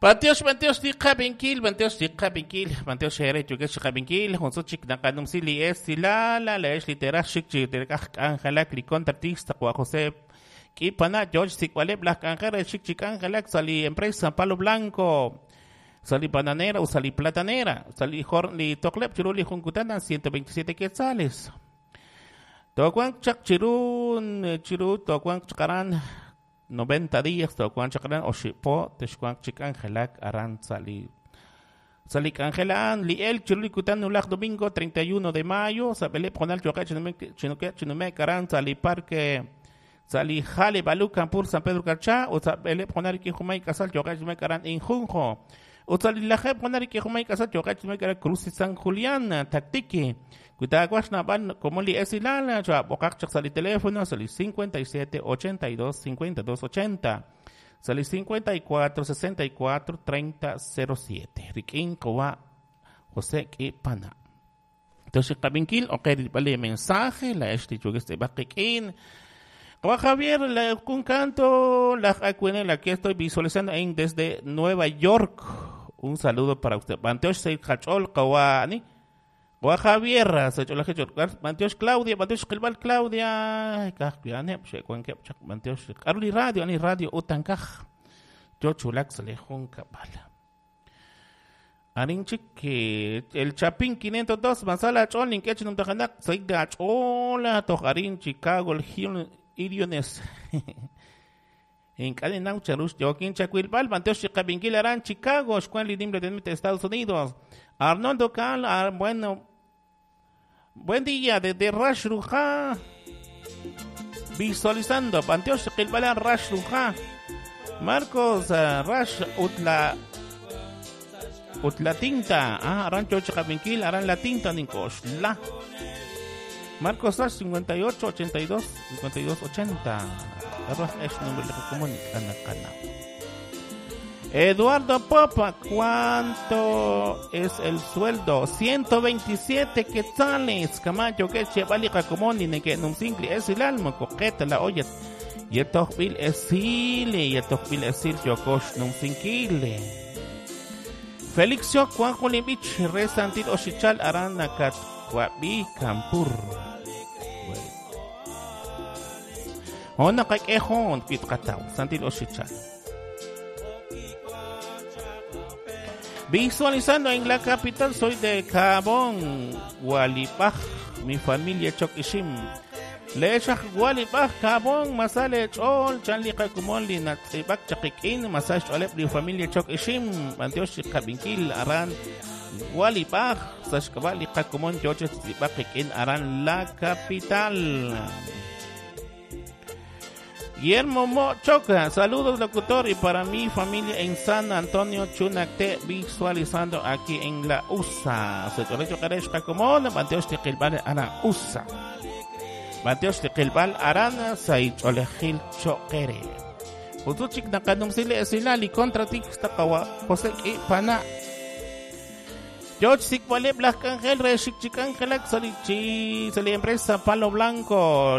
Bantiox, bantiox, li qabinkil, bantiox, li qabinkil, bantiox here yukex qabinkil, junsu chik naqanumsi li esilal, la ex literaj xik chi terekaj k'anjelak li contratista Juan José K'ipana, George Sikwaleb, laj k'anjel xik chi k'anjelak sa li empresa Palo Blanco, sa li bananera o sa li platanera, sa li jor li tokleb chiru li junkutana 127 quetzales. Tokuan chak chiru, chiru tokuan chakaran 90 días tokuan chakaran oxipo, texkuan chik angelak aran sali Sali Angelaan, li el chiru kutan nulak domingo 31 de mayo, sa belep jonal choque chinuque chinume karan sali parque sali jale balu campur San Pedro Carchá, o sa belep jonal ki jumay kasal choque chinume karan injunjo. O sali lajep jonal ki jumay kasal choque chinume karan Cruz San Julián taktiki. Kuitaguas naban como li esilala, chua bokak chak sali teléfono, sali 57 82 52 80. Sali 54 64 30 07. Rikin Kowa José Kipana. Entonces, Kabinkil, ok, vale mensaje, la este chugueste bakikin. Kowa Javier, la un canto, la la que estoy visualizando en desde Nueva York. Un saludo para usted. Banteosh se hachol kawa ni. Kowa Javier, se chola Banteosh Claudia, Banteosh Kilbal Claudia, kaj piane, xe kuan kep chak Banteosh Arli radio, ani radio utankaj. Yo chulak se le junca bala. Arinchik el Chapín 502 Masala Cholin Kech num tajanak Saida Chola Tojarín Chicago el Iriones. En Cadenau Charush Joaquín Chacuilbal Banteosh Chicabinkil Arán Chicago Xcuan Lidim de Estados Unidos. Arnoldo Cal, bueno, buen día desde Rash Ruja. Visualizando Banteosh Chiquilbal Rash Ruja. Marcos Rash Utla Utla tinta, Rancho Chicabinkil, Aran la tinta, Ninkosh, la. Marcos Rash 58 82 52 80. Arroz es nombre de comunica canal. Eduardo Popa, ¿cuánto es el sueldo? 127 quetzales. Camacho, que chevalika comoni, ne que numsinkli es el alma, coqueta la olla. Yetohbil esile, yetohbil esil, yokosh numsinkile. Félix Yok, Juan Julimbich, Resantil Oshichal, Arana Katwabi, Kampur. Ona kakehon, Pitkatau, Santil Oshichal. Visualizando en la capital, soy de Cabón, Gualipaj, mi familia Chokishim. Lechaj Gualipaj, Cabón, Masale Chol, Chanli Kakumon, Linatzibak, Chakikin, Masaj Cholep, mi familia Chokishim, Antioch Kabinkil, Aran, Gualipaj, Sashkabali Kakumon, Yoche Tzibakikin, Aran, la capital. Guillermo Mochoca, saludos locutor y para mi familia en San Antonio Chunacte, visualizando aquí en la USA. Se chorecho kareshka como Banteosh Tiqilbal ana USA. Banteosh Tiqilbal arana saicholejil choquere. Utuchik nakanumsile esilali contra tixtakawa José Kipana. George Sikwale Black Angel Reshik Chikangelak Sali empresa Palo Blanco.